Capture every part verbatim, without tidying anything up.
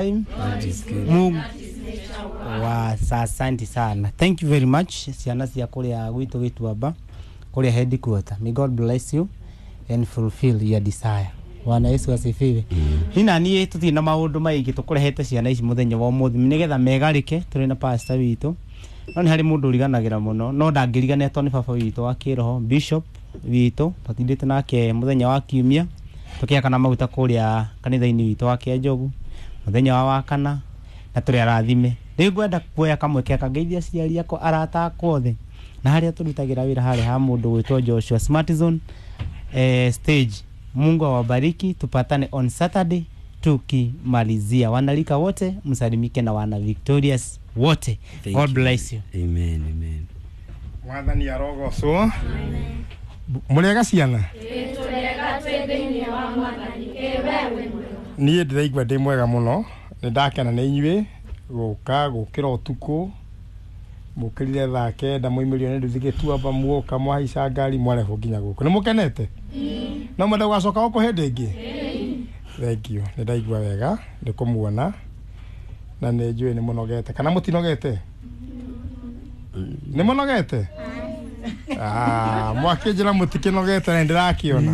Time. God is good. Mungu wa asante sana, thank you very much, ciana cia kuria gwitũ Gĩtuamba, kuria headquarter. May God bless you and fulfill your desire. Bwana Yesu asifiwe. Ni na niĩ tũtirĩ na maũndũ maingĩ, tũkũrehete ciana ici mũthenya wa ũmũthĩ nĩgetha megarĩke tũrĩ na pastor witũ, no nĩ harĩ mũndũ ũriganagĩra mũno, no ndangĩriganĩra tondũ nĩ baba witũ wa kĩroho, bishop witũ. Twatindĩte nake mũthenya wa kiumia tũkĩakana maguta kũrĩa kanitha-inĩ witũ wa Kĩanjogu mũthenya wa wakana, na tũrĩ arathime. Rĩu ngwenda kuoya kamweke kangeithia aciari akwa, arata akwa othe, na harĩa tũrutagĩra wĩra harĩa ha mũndũ gwĩtwo Joshua Smart Zone eh, stage. Mungu awabariki, tupatane on Saturday tukimalizia. Wanalika wote msalimike na wana Victorious wote. Thank God you. bless you. Amen, amen. Mwathani arogocwo. Mũrĩega ciana? Niĩ ndĩraigua ndĩ mwega mũno, nĩ ndakena nĩ inyuĩ gũka gũkĩra ũtukũ, mũkĩrire thaa kenda, mũimĩrio nĩ nduthi Gĩtuamba, muoka mwahaica ngari mwarehwo nginya gũkũ. Nĩ mũkenete? No mwenda gũgacoka gũkũ hĩndĩ ĩngĩ? Thank you. Nĩ ndaigua wega nĩ kũmuona na nĩ njũĩ nĩ mũnogete, kana mũtinogete? Nĩ mũnogete? Ah, mwakĩnjĩra mũtikĩnogete na nĩndĩrakĩona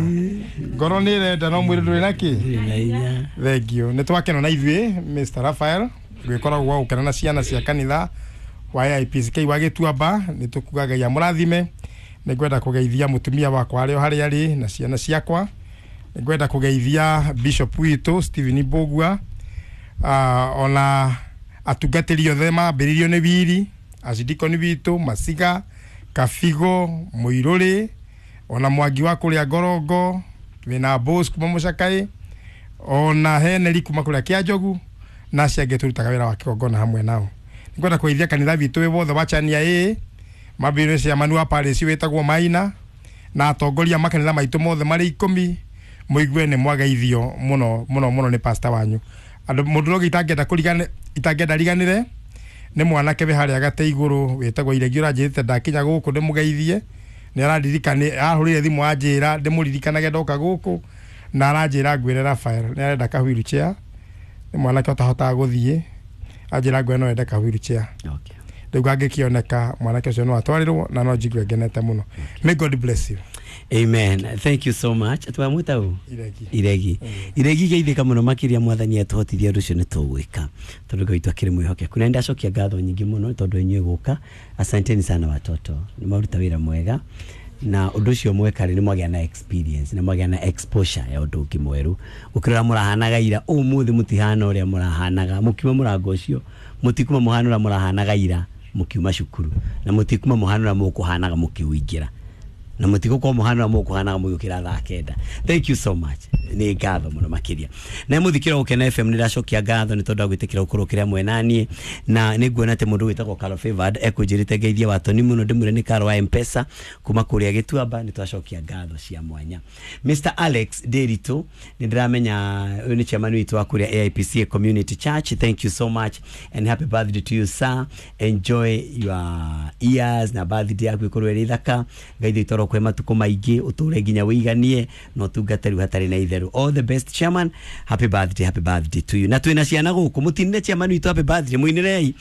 ngoro nĩ ĩrenda no mwĩrĩ ndũrĩ na kĩ. Ndũrĩ na hinya. Thank you. Nĩ twakena na ithuĩ Mister Raphael gwĩkoragwo gwa gũkena na ciana cia kanitha wa A I P C K wa Gĩtuamba. Nĩ tũkuga Ngai amũrathime. Nĩ ngwenda kũgeithia mũtumia wakwa arĩ o harĩa arĩ na ciana ciakwa. Nĩ ngwenda kũgeithia bishop witũ Stephen Mbũgua, uh, ona atungatĩri othe mambĩrĩirio nĩ wiri acidikoni witũ Masiga, Kabigo, Mũirũrĩ, ona Mwangi wa kũrĩa Ngorongo, wĩna Bos kuma Mũcakaĩ, ona Heneri kuma kũrĩa Kĩanjogu, na acio angĩ tũrutaga wĩra wa kĩgongona hamwe nao. Nĩngwenda kũgeithia kanitha witũ wĩ wothe wa Chania ĩ mambĩrĩrio nĩ chairman wa parish wĩtagwo Maina na atongoria makanitha maitũ mothe marĩ ikũmi. Mũigue nĩ mwageithio mũno mũno mũno nĩ pastor wanyu. Andũ mũndũ ũngĩ itangĩenda kũrigane, itangĩenda riganĩre nĩ mwanake wĩ harĩa gate igũrũ wĩtagwo Iregi, ũranjĩrĩte ndakinya gũkũ ndĩmũgeithie. Nĩ araririkane, ahũrire thimũ anjĩra ndĩmũririkanage ndoka gũkũ, na aranjĩra ngwĩre Raphael nĩ arenda ka wheelchair. Nĩ mwanake ũtahotaga gũthiĩ, anjĩra ngwĩre no ende ka wheelchair. Okay. Rĩu angĩkĩoneka mwanake ũcio no atwarĩrwo na no njigue ngenete mũno. May God bless you. Amen. Thank you so much. Twamwĩta ũ? Iregi. Iregi. Iregi, geithĩka mũno makĩria. Mwathani atũhotithia ũndũ ũcio nĩ tũgwĩka tondũ Ngai witũ akĩrĩ mwĩhokeku. Na nĩndacokia ngatho nyingĩ mũno tondũ inyuĩ gũka. Asanteni sana watoto, nĩ maruta wĩra mwega, na ũndũ ũcio mweka rĩ, nĩ mwagĩa na experience, nĩ mwagĩa na exposure ya ũndũ ũngĩ mwerũ gũkĩra ũrĩa mũrahanaga ira. Ũmũthĩ mũtihana ũrĩa mũrahanaga mũkiuma mũrango ũcio, mũtikuma mũhana ũrĩa mũrahanaga ira mũkiuma cukuru, na mũtikuma mũhana ũrĩa mũkũhanaga mũkĩũingĩra, na mũtigũkorwo mũhana ũrĩa mũkũhanaga mũgĩũkĩra thaa kenda. Thank you so much, nĩ ngatho mũno makĩria. Na mũthikĩra Gũkena F M, nĩ ndacokia ngatho nĩ tondũ wa gwĩtĩkĩra gũkorwo kĩrĩa mwena niĩ, na nĩ nguona atĩ mũndũ wĩtagwo Carol Favored ekũnjĩrĩte ngeithie watoni mũno, ndĩmwĩre nĩ Carol wa M-Pesa kuma kũrĩa Gĩtuamba. Nĩ twacokia ngatho cia mwanya. Mister Alex Nderitu, nĩ ndĩramenya ũyũ nĩ chairman witũ wa kũrĩa A I P C Community Church. Thank you so much and happy birthday to you, sir. Enjoy your years na birthday yaku ikorwo ĩrĩ thaka. Ngai witũ arokwe matukũ maingĩ, ũtũre nginya wĩiganie na ũtungate rĩu hatarĩ na itherũ. All the best, chairman. Happy birthday, happy birthday to you. Na twĩna ciana gũkũ, mũtinire chairman witũ happy birthday, mũinĩrei.